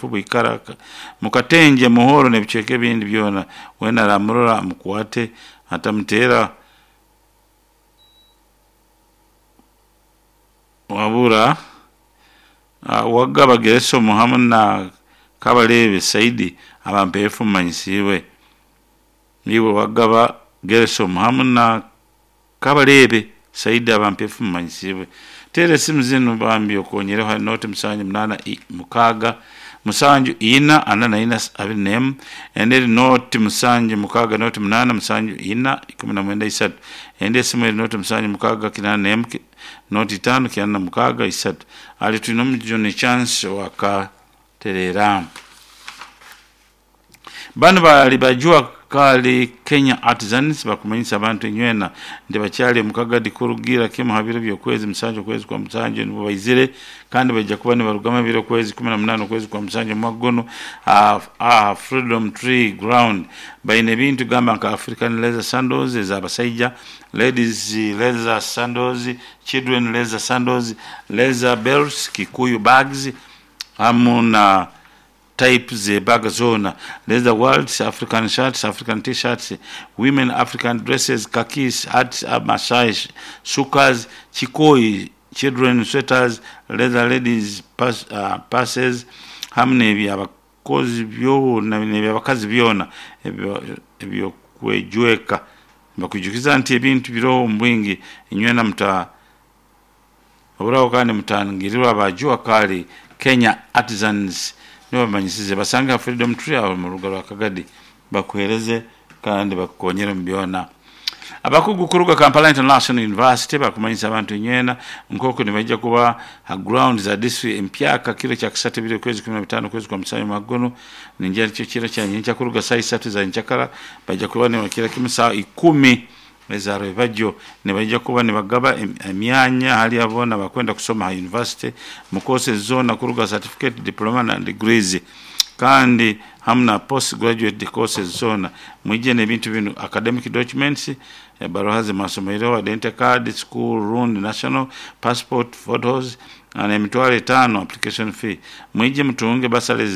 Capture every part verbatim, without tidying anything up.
Mpeefu, Bwikara, Mukatenje, Muhoro n'ebicweka ebindi byona. Weena aramurora amukwate atamuteera wabura uh, Wagaba Geresomu hamu na Kabarebe Saidi aba Mpeefu mumanyisiibwe. Niiwe Wagaba Geresomu hamu na Kabarebe Saidi aba Mpeefu mumanyisiibwe. Teera esimu zinu bambi okonyereho hari noti musanju munaana mukaaga musanju ina ana na ina abiri n'emu, endi eri noti musanju mukaaga noti munaana musanju ina ikumi na mwenda isatu, endi esimu eri noti musanju mukaaga kinaana n'emu noti itaano kyenda na mukaaga isatu. Ali twine omujuni Chance wakatereera. Banu bali bajua kali Kenya Artisans bakumanyisa abantu enywena nti bakyali omukagadi kurugira kimu ha biro by'okwezi musanju okwezi kwa musanju nibo baizire, kandi baija kuba nibarugamu ebiro okwezi kumi na munaana okwezi kwa musanju omwaka guno aha Freedom Tree Ground. Baine ebintu gamba nka African leather sandals ez'abasaija, ladies leather sandals, children leather sandals, leather belts, kikuyu bags hamu na type z'ebaga zoona, leather wallets, African shirts, African t-shirts, women African dresses, khakis, hats, Masai shukas, chikoi, children sweaters, leather ladies pass, uh, passes hamu n'ebyabakozi byona n'ebyabakazi byona ebyokwejweka. Bakwijukiza nti ebintu biroho omu bwingi inywena muta oburaho kandi mutangirirwa abajua kali Kenya Artisans nibo bamanyisize. Basange ha Freedom Tree aho mu rugo rwa Kagadi bakuhereze kandi bakukonyere mu byona. Abakugu kuruga Kampala International University bakumanyisa abantu inywena nk'oku nibaija kuba ha ground za district empyaka kiro kya kisatu ebiri okwezi kumi na bitaano okwezi kwa musanju mwaka guno, ningira nikyo kiro kya nyenkya kuruga saa isatu za nyenkyakara baija kuba nibakira kimu saa ikumi eza rwebagyo nibaija kuba nibagaba emyanya hali aboona bakwenda kusoma ha university mu courses zoona kuruga certificate, diploma na degrees, kandi hamu na post graduate courses zoona. Mwije n'ebintu binu: academic documents, ebaruha zemasomero, identity card, school rundi national passport photos, na emitwaro etaano application fee. Mwije mutunge basale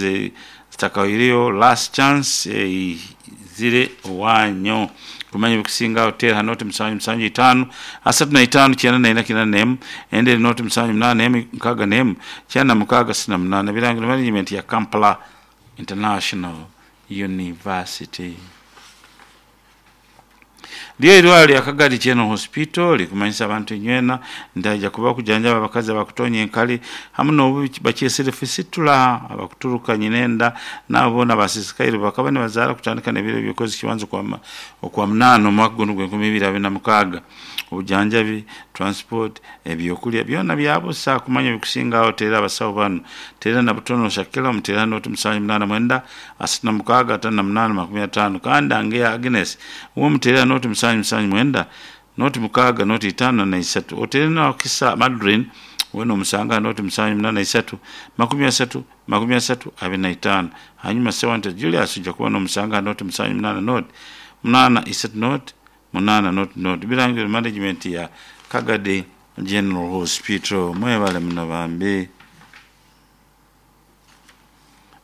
zitakahwaireyo, last chance eizire owanyu. Kumanya ebikusingaho teera noti musanju musanju itaano asatu na itaano kyenda na ina kyenda n'emu, endi eri noti musanju munaana emu nkaaga n'emu kyenda na mukaaga sita na munaana. Birangiro management ya Kampala International University. Lyo eirwaro lya Kagadi General Hospital likumanyisa abantu inywena nti haija kuba kujanjaba abakazi abakutonya enkali hamu n'obubi bakyesere fisitula, abakuturuka nyinenda n'abo boona abasisikaire bakaba nibazaara kutandika n'ebiro by'okwezi kibanza okwa munaana omwaka guno gw'enkumi ibiri abiri na mukaaga. Obujanjabi, transport, ebyokulya byona byabusa. Kumanya ebikusingaho teera abasawo banu: teera Nabutono Shakila omuteera noti musanju munaana mwenda asatu na mukaaga ataano na munaana makumi ataano, kandi Angeya Agnes uwe omuteera noti musanju musanju mwenda noti mukaaga noti itaano na isatu. Oteere na Wakisa Madrine weena omusanga noti musanju munaana isatu makumi asatu makumi asatu abiri na itaano. Hanyuma Sewante Julius oija kuba n'omusanga noti musanju munaana noti munaana isatu noti munaana noti noti. Birangiro management ya Kagadi General Hospital. Mwebale muno bambi.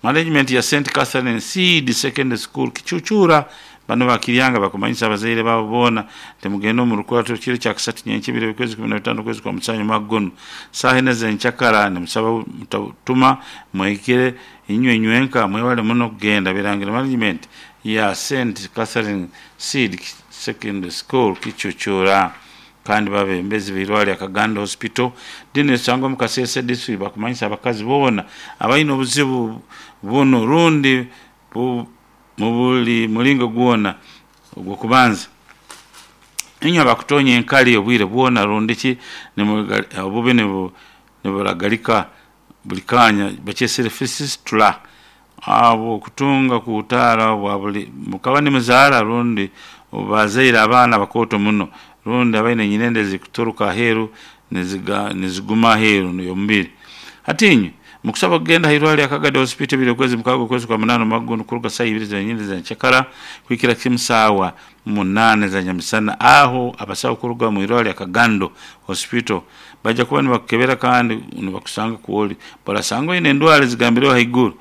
Management ya Saint Catherine Seed Secondary School Kichuchura bano bakiryanga bakumanyisa abazaire baabo boona nti mugende omu rukurato kiro kya kisatu nyenkya ebiro by'okwezi kumi na bitaano okwezi kwa musanju mwaka guno saaha ina z'enkyakara. Nimusaba mutatuma mwehikire inywe inywenka mwebale muno kugenda. Birangiro management ya Saint Catherine Seed Secondary School Kichuchura. Kandi babembezi b'eirwaro lya Kagando Hospital dini esangwa omu Kasese district bakumanyisa abakazi boona abaine obuzibu bunu rundi mu buli muringo gwona. Ogw'okubanza, inywe abakutonya enkali obwire bwona rundi ki obubi niburagarika buli kanya bakyesere fisitula, abo okutunga kuhutaara bwa buli mukaba nimuzaara rundi bazaire abaana bakooto muno rundi abaine enyinenda ezikuturuka aheeru niziguma aheeru y'omubiri. Hati inywe mukusaba kugenda hairwaro lya Kagadi Hospital ebiri okwezi mukaaga okwezi kwa munaana omwaka guno kuruga saaha ibiri zenyini zenkyakara kuhikira kimu saawa munaana za nyamisana. Aho abasawo kuruga omu irwaro lya Kagando Hospital baija kuba nibakukebera kandi nibakusanga kwoli barasanga oine endwara ezigambireho haiguru.